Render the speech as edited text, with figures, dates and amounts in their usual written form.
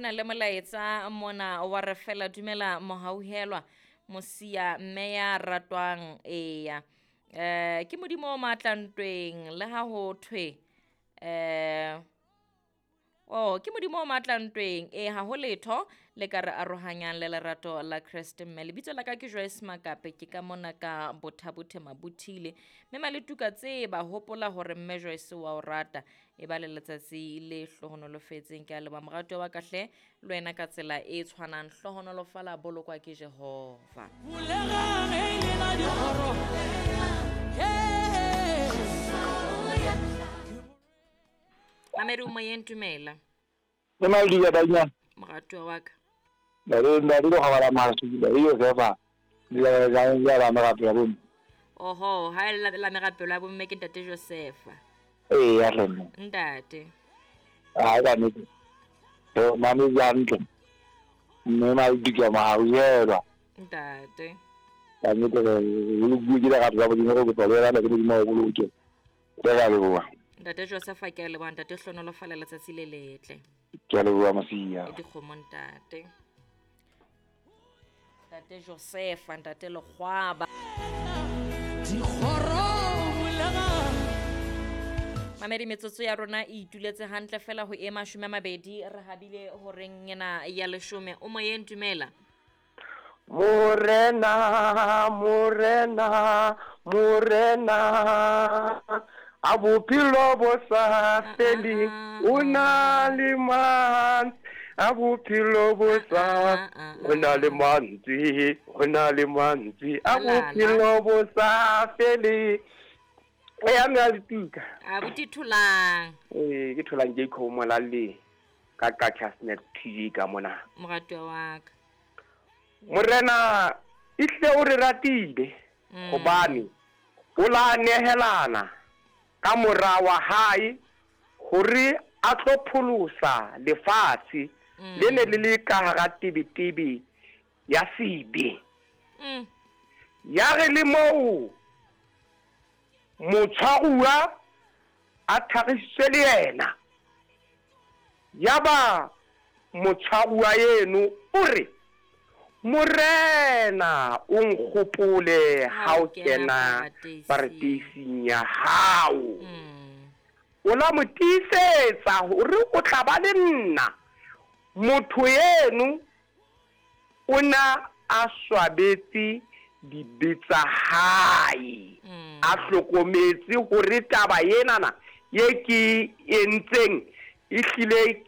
Ho na le molaetsa mona wa re fela dumela mohauhelwa mosia mme ya ratwang eya ke modimo o matla ntweng le ha ho thwe oh ke modimo o matla ntweng e ha ho letho le ka re arohanyang le lerato la Kreste. Mme lebitso la ka ke Joyce Makape, ke ka mona ka Bothabothe Mabuthile. Mme Maletuka tseba hopola hore mme Joyce wa o rata, e ba le letsatsi le hlohonolofetseng. Ke a leboha morato wa ka hle, le wena ka tsela e tshwanang, hlohonolofala, bolokwa ke Jehova. Bulegang e lena dikgoro. Hey. Mamedi o moyeng, dumela. Le Maldiga banyana. Moratuwa wa ka. Ntate ntate lo gabala maso ke le Josefa. Le la la la merapelo ya bomme. Oho, ha e la merapelo ya bomme ke ntate Josefa. Ee ya rena. Ntate. Ha ka nnete. To mame hantle. Mme Maldiga mahauhelwa. Ntate. Ka nnete re le bue ke lerato la Modimo re kopa le wena ke Modimo wa boloke. Re a leboha. Ntate Josefa, ke a leboha ntate, hlonolofala letsatsi le letle. Ke a leboha Mosia. E dikgomo ntate. Ntate Josefa, ntate Lekgwaba. Dikgoro bulegang. Mamedi, metsotso ya rona e ituletse hantle fela ho e 20 re habile horeng ena ya 10. O moyeng, dumela. Morena, Morena, Morena, a bophelo bo sa feleng, o na le mantswe, a bophelo bo sa, o na le mantswe, o na le mantswe, a bophelo bo sa feleng. E ya mme a letuka. Abuti Tholang. Ee, ke Tholang Jacob Molalle ka Qacha Snack TV ka mona. Moratuwa wa ka. Morena ehlile o re ratile hobane o la nehelana ka mora wa hae hore a tlo pholosa lefatshe le ne le le ka hara tebetebe ya sebe. Ya re le moo motshwaruwa a tharisitswe le yena, yaba motshwaruwa eno o re, Morena o nkgopole ha o kena paradeising ya hao. O la mo tiisetsa hore o tla ba le nna. Motho eno o na a swabetse dibe tsa hae, a hlokometse hore taba enana ye ke entseng ehlile